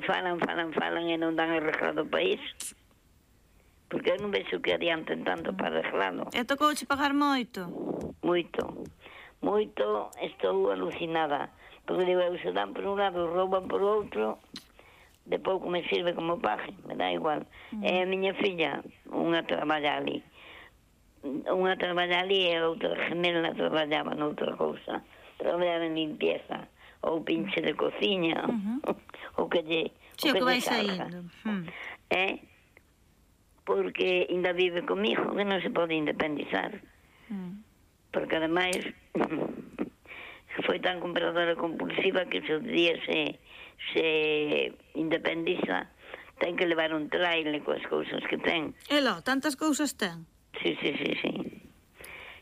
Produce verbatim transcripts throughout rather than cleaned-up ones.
falan, falan, falan e non dan arreglado o país. Porque eu non vexo que adianten tanto para arreglado. E tocouche pagar moito? Moito, moito, estou alucinada. Porque digo, eu se dan por un lado, rouban por outro, de pouco me sirve como paje, me dá igual. Mm. E a miña filla, unha traballa ali. Unha traballa ali e outra gemela traballaba noutra cousa. Traballaba en limpieza, ou pinche de cociña, uh-huh. ou que lle... Sí, o que vai saindo. Hmm. Eh? Porque ainda vive comigo, que non se pode independizar. Hmm. Porque ademais foi tan compradora compulsiva que se o día se, se independiza, ten que levar un traile coas cousas que ten. E lo, tantas cousas ten? Sí, sí, sí, sí.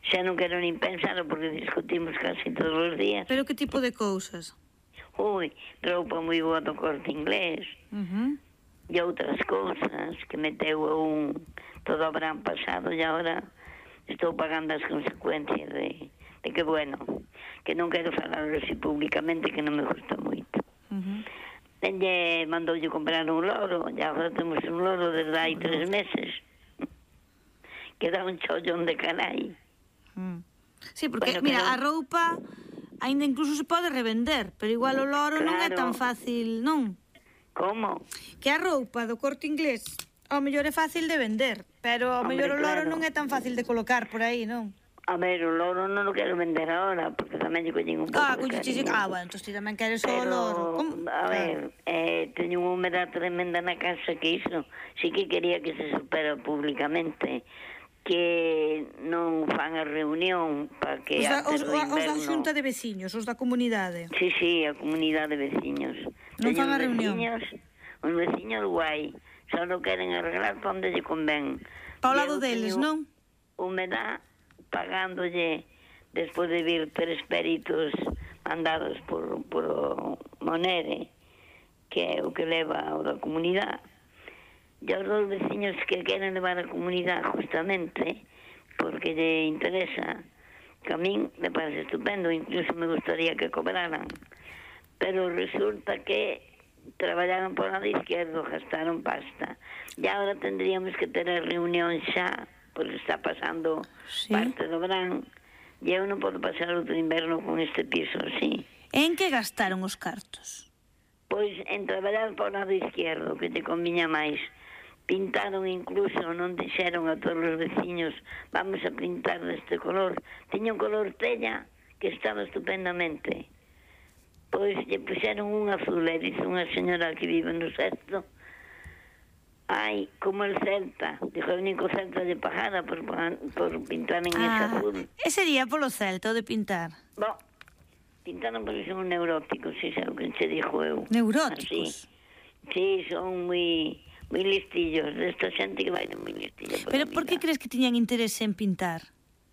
Xa non quero nin pensar porque discutimos casi todos os días. Pero que tipo de cousas? Ui, roupa moi boa do Corte Inglés. Uh-huh. E outras cousas que meteu un todo o verán pasado e agora estou pagando as consecuencias de, de que, bueno, que non quero falar así públicamente, que non me gusta moito. Uh-huh. Elle mandoulle comprar un loro, e agora temos un loro desde hai tres meses. Que dá un chollón de carai. Mm. Sí, porque, bueno, mira, pero... a roupa aínda incluso se pode revender, pero igual o loro claro. Non é tan fácil, non? Como? Que a roupa do Corte Inglés ao mellor é fácil de vender, pero ao mellor o loro claro. Non é tan fácil de colocar por aí, non? A ver, o loro non o quero vender ahora, porque tamén lle collín un pouco ah, de cariño. Ah, bueno, entón ti tamén queres o loro. Como? A ver, eh, teño unha humedad tremenda na casa que iso, sí que quería que se supera públicamente, que non fan a reunión para que os da, os, os da xunta de veciños, os da comunidade. Sí, sí, a comunidade de veciños. Non fan a reunión. Veciños, os veciños guai, só non queren arreglar para onde lle convén. Pa o lado deles, non? Humedad pagándolle despois de vir tres peritos mandados por, por o Monere, que é o que leva o da comunidade. E os dos veciños que queren levar a comunidade justamente porque lle interesa, que a min me parece estupendo, incluso me gustaría que cobraran, pero resulta que traballaron por lado izquierdo, gastaron pasta, e agora tendríamos que ter a reunión xa, porque está pasando sí. Parte do verán, e eu non podo pasar outro inverno con este piso así. En que gastaron os cartos? Pois en traballar por lado izquierdo, que te conviña máis. Pintaron incluso, non dixeron a todos os veciños, vamos a pintar deste color. Tiña un color tella que estaba estupendamente. Pois lle puxeron un azul, e dice unha señora que vive no sexto, ai, como el Celta, dijo, o único Celta de pagada por, por pintar en ah, ese azul. E sería polo Celta, o de pintar? Bo, pintaron porque son neuróticos, si é o que se dixo eu. Neuróticos? Así. Sí, son moi... moi listillos, desta xente que vai de moi listillo. Pero por que crees que tiñan interese en pintar?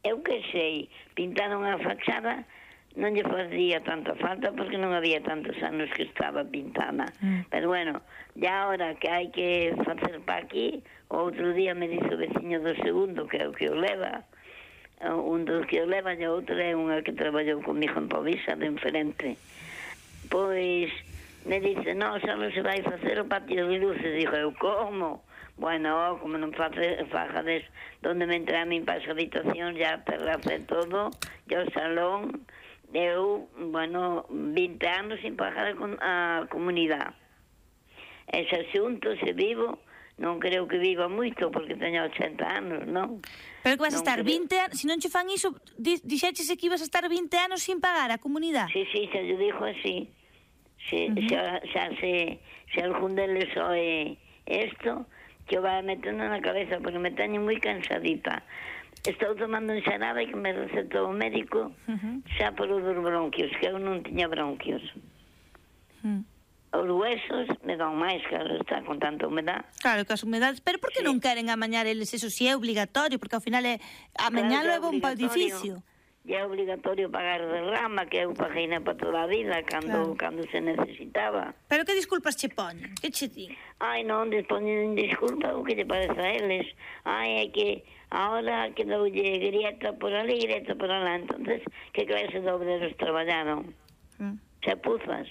Eu que sei, pintaron a fachada, non lle facía tanta falta porque non había tantos anos que estaba pintada. Mm. Pero bueno, ya ahora que hai que facer pa aquí, outro día me dice o veciño do segundo, que é o que o leva, un dos que o leva, e outro é unha que traballou comigo en Povisa, de enfrente. Pois... me dice, no, xa non se vai facer o patio de luces. Dijo eu, como? Bueno, como non face, fajades donde me entra a min para as habitacións, ya terrace todo, ya o salón, eu, bueno, vinte anos sin pagar a comunidade. Ese asunto, se vivo, non creo que viva moito, porque teño ochenta anos, non? Pero que vas a estar vinte anos, se non che fan iso, dixéchese que ibas a estar vinte anos sin pagar a comunidade? Sí, sí, xa yo dijo así. Se, uh-huh. xa, xa se, se algún deles oe esto, que o vai metendo na cabeza, porque me teño moi cansadita. Estou tomando un xarabe que me recetou o médico, uh-huh. xa por os dos bronquios, que eu non tiña bronquios. Uh-huh. Os huesos me dan máis, claro, está con tanta humedad. Claro, que as humedades, pero por que sí. Non queren amañar eles eso, si é obligatorio, porque ao final é amañalo claro, é bom para o edificio. E é obligatorio pagar de rama, que eu paguei para toda a vida, cando, claro. Cando se necesitaba. Pero que disculpas che poñen? Que che di? Ai, non, poñen disculpa o que te parece a eles. Ai, é que ahora quedoulle grieta por ali, grieta por alá. Entonces, que clase de obreros traballaron? Mm. Chapuzas.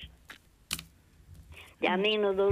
E a mí no